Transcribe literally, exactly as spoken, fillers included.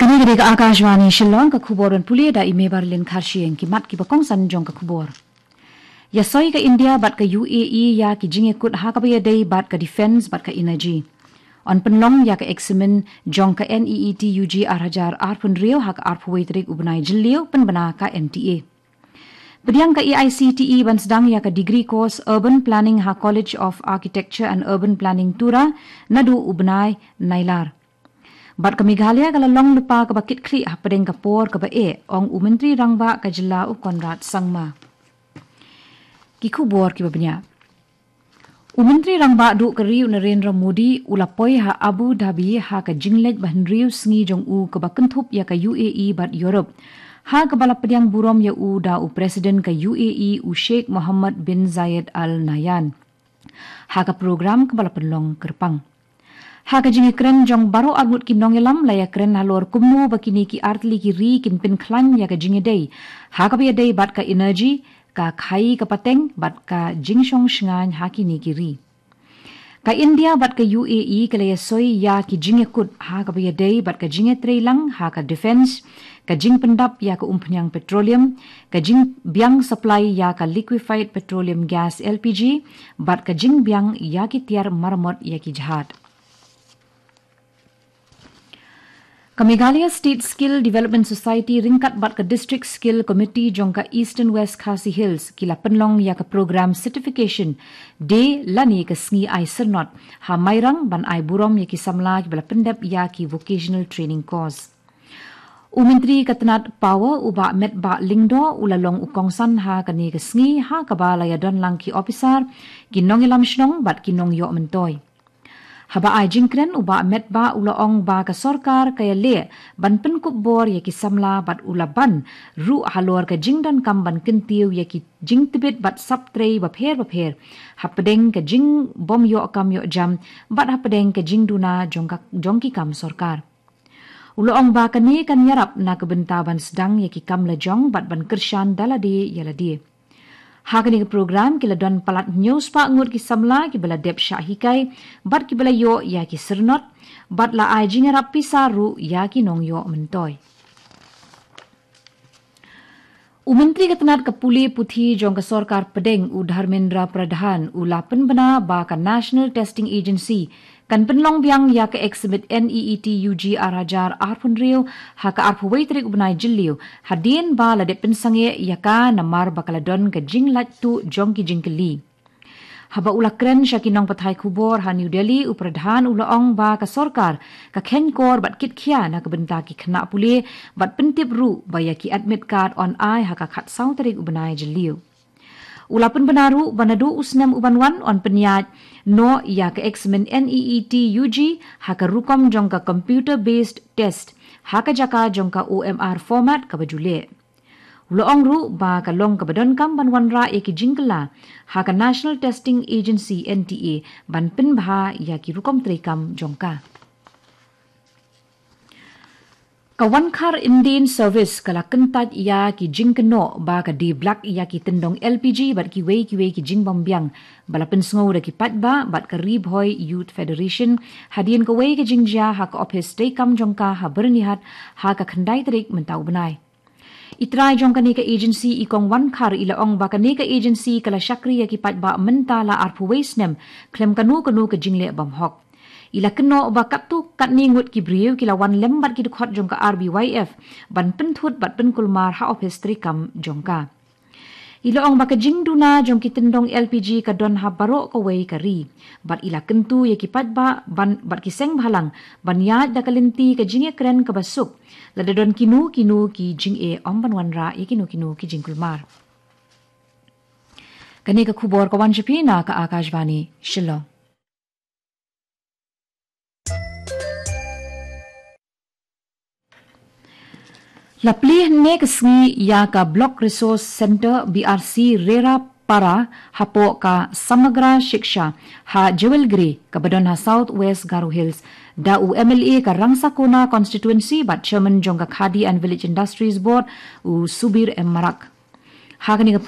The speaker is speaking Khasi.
Kane ka dei ka Akashvani Shillong, ka khubor ban pule da i Mebarlin Kharshiing. Ki mat kiba kongsan jong ka khubor. Ïasoi ka India bad ka U A E ïa ki jingïakut ha kaba ïadei bad ka defense bad ka energy. Yn pynlong ïa ka eksamin jong ka NEET UG ar hajar arphew hynriew ha ka arphew wei tarik u bnai Jylliew, pynbna ka NTA. Pdiang ka AICTE ban sdang ïa ka degree course Urban Planning ha College of Architecture and Urban Planning, Tura, naduh u bnai Nailar. Bad ka Meghalaya ka la long lypa kaba kitkhlieh hapdeng ka por kaba eh, ong u Myntri Rangbah ka Jylla u Conrad Sangma. Ki khubor kiba bniah. U Myntri Rangbah Duh ka Ri u Narendra Modi u la poi ha Abu Dhabi ha ka jingleit ba hynriew sngi jong u kaba kynthup ïa ka U A E bad Europe, ha kaba la pdiang burom ïa u da u President ka U A E u Sheikh Mohammed bin Zayed Al Nahyan, ha ka program kaba la pynlong kyrpang. Ha ka jingïakren jong baroh arngut ki nongïalam, la ïakren halor kumno ba kine ki artylli ki ri kin pynkhlaiñ ïa ka jingïadei ha kaba ïadei bad ka energy, ka khaïi ka pateng bad ka jingshong shngaiñ ha kine ki ri. Ka India bad ka U A E ka la ïasoi ïa ki jingïakut ha kaba ïadei bad ka jingïatreilang ha ka defense, ka jingpyndap ïa ka umphniang petroleum, ka jingbiang supply ïa ka liquefied petroleum gas, L P G, bad ka jingbiang ïa ki tiar maramot ïa ki jhad. Ka Meghalaya State Skill Development Society ryngkat bad ka District Skill Committee jong ka Eastern West Khasi Hills ki la pynlong ïa ka program certification day lane ka sngi ai syrnod ha Mairang ban ai burom ïa ki samla kiba la pyndep ïa ki vocational training course. U Myntri ka tnad Power u Bah Metbah Lyngdoh u la long u kongsan ha kane ka sngi ha kaba la ïadon lang ki ophisar, ki nongïalam shnong bad ki nongïoh myntoi. Haba ai jingkren u Bah Metbah u la ong ba ka sorkar ka ïaleh ban pynkup bor ïa ki samla bad u la ban ruh halor ka jingdonkam ban kyntiew ïa ki jingtbit bad sap trei bapher bapher, hapdeng ka jingbym ïoh kam ïoh jam bad hapdeng ka jingduna jong ka, jong ki kam sorkar. U la ong ba kane kan ïarap na ka bynta ban sdang ïa ki kam lajong bad ban kyrshan da lade ïa lade. Ha kane ka program ki la don palat hynñiew spah ngut ki samla kiba la dep shah hikai bad kiba la ïoh ïa ki syrnod bad la ai jingïarap pisa ruh ïa ki nongïoh myntoi. U Myntri ka tnad ka pule puthi jong ka sorkar pdeng u Dharmendra Pradhan u la pynbna ba ka National Testing Agency kan pynlong biang ïa ka eksamin NEET UG ar hajar arphew hynriew ha ka arphew wei tarik u bnai Jylliew, hadien ba la dep pynsangeh ïa ka namar ba ka la don ka jinglait tuh jong ki jingkylli. Haba u la kren sha ki nongpathai khubor ha New Delhi, u Pradhan u la ong ba ka sorkar ka kheiñkor bad kitkhia na ka bynta ki khynnah pule bad pyntip ruh ba ïa ki admit card yn ai ha ka khatsaw tarik u bnai Jylliew. U la pynbna ruh ba naduh u snem u ban wan yn pynïaid noh ïa ka eksamin NEET UG ha ka rukom jong ka computer based test ha ka jaka jong ka OMR format kaba ju leh. U la ong ruh ba ka long kaba donkam ban wanrah ïa ki jingkylla ha ka National Testing Agency, NTA, ban pynbha ïa ki rukom treikam jong ka. Ka Wankhar Indane Service ka la kyntait ïa ki jingkynnoh ba ka die blak ïa ki tyndong LPG bad kiwei kiwei ki jingbym biang ba la pynsngew da ki paidbah bad ka Ri Bhoi Youth Federation hadien kawei ka jingjia ha ka ophis treikam jong ka ha Byrnihat ha ka khyndai tarik mynta u bnai. I trai jong kane ka agency, i Kong Wankhar, i la ong ba kane ka agency ka la shakri ïa ki paidbah mynta la arphew wei snem khlem kano kano ka jingleh bymhok. I la kynnoh ba katto katne ngut ki briew ki la wan lem bad ki dkhot jong ka RBYF ban pynthut bad pynkulmar ha ophis treikam jong ka. I la ong ba ka jingduna jong ki tyndong LPG ka don ha baroh kawei ka ri bad i la kyntu ïa ki paidbah ban, bad ki seng bhalang ban ïaid da ka lynti ka jingïakren kaba suk lada don kino kino ki jingeh, ym ban wanrah ïa kino kino ki jingkulmar. Kane ka khubor ka wan sha phi na ka Akashvani Shillong. La plie hynne ka sngi ïa ka Block Resource Centre, BRC, Rera Para hapoh ka Samagra Shiksha ha Jewelgre kaba don ha South West Garo Hills da u MLA ka Rangsakona Constituency bad Chairman jong ka Khadi and Village Industries Board, u Subir M Marak. Ha kane ka